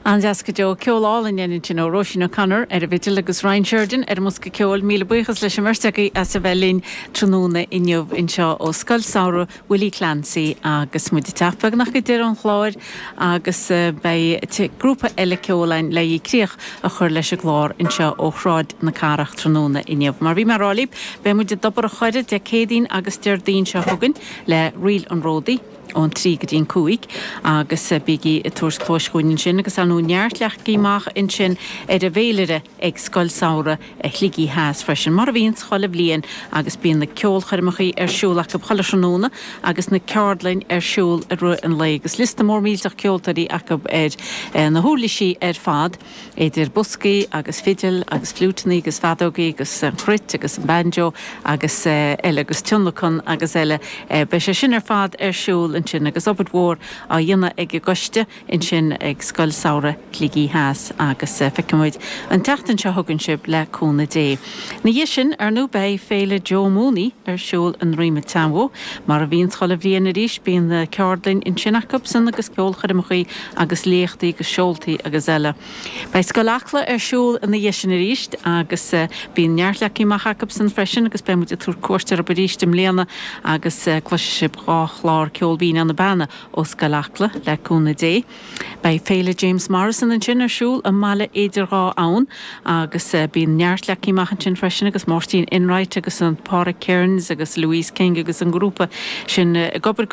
An-deas go deo. Ceol álainn ansin ó Róisín O'Connor ar an bhfidil agus Ryan Sheridan ar an mbosca ceoil. Míle buíochas leis an mbeirt agaibh as a bheith linn tráthnóna inniu anseo ó Scoil Samhraidh Willie Clancy agus muid ag teacht beagnach go deireadh an chláir agus beidh grúpa eile ceoil againn le críoch a chur leis an gclár anseo ó Shráid na Cathrach tráthnóna inniu. Mar bhí mé a rá libh, beidh muid i dTobar an Choire Dé Céadaoin agus Déardaoin seo chugainn le Ríl an Ródaí. ón 3 go dtí an 5 agus bígí ag tabhairt cluais chugainn ansin agus ar ndóigh neart leagtha amach ansin ar an bhféilire ag Scoil Samhraidh Shligigh Theas freisin, mar a bhíonns chuile bhliain agus bíonn na ceolchoirmeacha ar siúl acu chuile thráthnóna agus na ceardlainn ar siúl i rith an lae agus liosta mór millteach ceoltóirí acu ar na huirlisí ar fad. Idir boscaí agus fidil agus fliúiteanna agus feadógaí agus an chruit agus an banjo agus eile agus tionlacan agus eile. Beidh sé sin ar fad ar siúl ansin agus obair mhór á dhéanamh ag an gcoiste ansin ag Scoil Samhraidh Shligigh Theas agus feicfidh muid an tseachtain seo chugainn sibh le cúnamh Dé. Ina dhiaidh sin, ar ndóigh, beidh Féile Joe Mooney ar siúl i nDroim an tSeanbhó. Mar a bhíonns chuile bhliain arís, bíonn na ceardlainn ansin acu-san agus ceolchoirmeachaí agus léachtaí agus seoltaí agus eile. Beidh Scoil Acla ar siúl ina dhiaidh sin arís agus bíonn neart leagtha amach acu-san freisin agus beidh muid ag tabhairt cuairt orthu arís i mbliana agus cloisfidh sibh dhá chlár Ceol Binn ó na Beanna ó Scoil Acla le cúnamh Dé. Beidh Féile James Morrison ansin ar siúl i mBaile Idir Dhá Abhainn agus bíonn neart leagtha amach ansin freisin agus Máirtín Enright agus an Pádraig Kearns agus Louise King agus an grúpa sin ag obair.